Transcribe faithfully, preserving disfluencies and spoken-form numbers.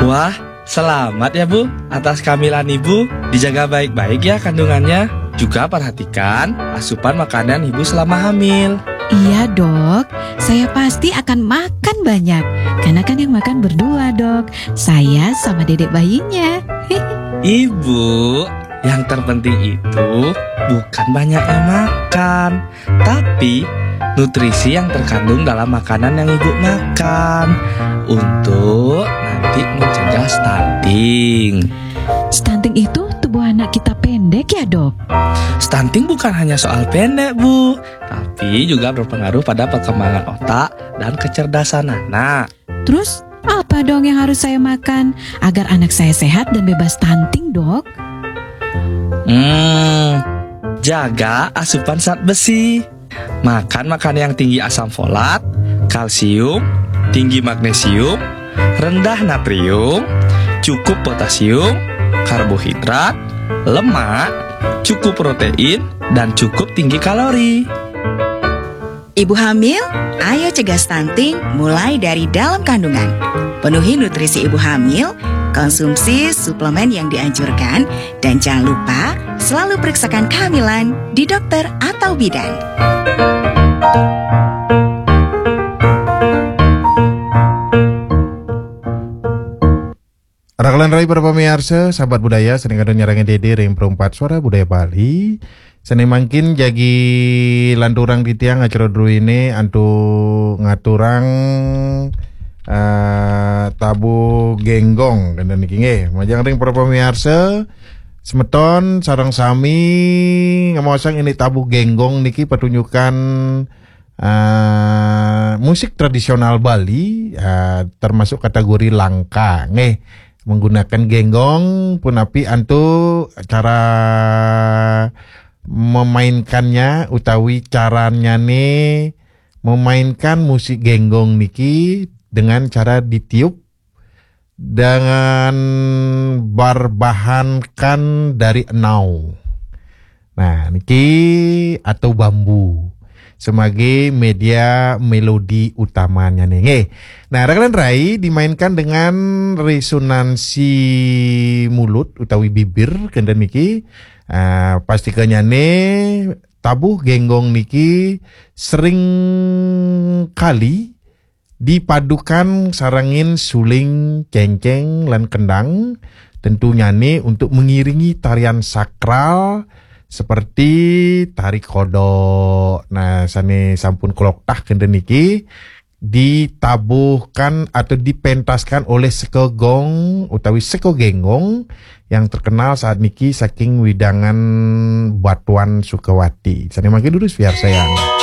Wah, selamat ya, Bu, atas kehamilan Ibu. Dijaga baik-baik ya kandungannya. Juga perhatikan asupan makanan Ibu selama hamil. Iya, Dok. Saya pasti akan makan banyak. Karena kan yang makan berdua, Dok. Saya sama dedek bayinya. Ibu, yang terpenting itu bukan banyaknya makan, tapi nutrisi yang terkandung dalam makanan yang Ibu makan untuk nanti mencegah stunting. Stunting itu tubuh anak kita pendek ya, Dok? Stunting bukan hanya soal pendek, Bu, tapi juga berpengaruh pada perkembangan otak dan kecerdasan anak. Terus, apa dong yang harus saya makan agar anak saya sehat dan bebas stunting, Dok? Hmm, jaga asupan zat besi. Makan makanan yang tinggi asam folat, kalsium, tinggi magnesium, rendah natrium, cukup potasium, karbohidrat, lemak, cukup protein, dan cukup tinggi kalori. Ibu hamil, ayo cegah stunting mulai dari dalam kandungan. Penuhi nutrisi ibu hamil, konsumsi suplemen yang dianjurkan, dan jangan lupa selalu periksakan kehamilan di dokter atau bidan. Rakalan rai para pamiarsa, sahabat budaya, sané kadén nyarengin Dédé ring Perumpat Suara Budaya Bali. Sané mangkin jagi lanturang titiang acara druéné antuk ngaturang eh, tabuh génggong kénten niki nggih. Majeng ring para pamiarsa, semeton sareng sami ngamaosang indik tabuh génggong niki patunjukan eh, musik tradisional Bali, eh, termasuk kategori langka nggih. Menggunakan génggong, punapi antuk cara memainkannya utawi carannyané memainkan musik génggong niki dengan cara ditiup dengan berbahankan dari enau. Nah, niki atau bambu sebagai media melodi utamanya nih. Nggih. Nah, rakalan rai dimainkan dengan resonansi mulut utawi bibir kénten niki. Ah, pastikanyane tabuh génggong niki sering kali dipadukan sarengin suling, céngcéng, lan kendang, tentunyane untuk mengiringi tarian sakral seperti tari kodok. Nah, sane sampun kloktah kenten niki ditabuhkan atau dipentaskan oleh seka gong utawi seka génggong yang terkenal saat niki saking widangan Batuan Sukawati. Sane mangkin durus biar sayang.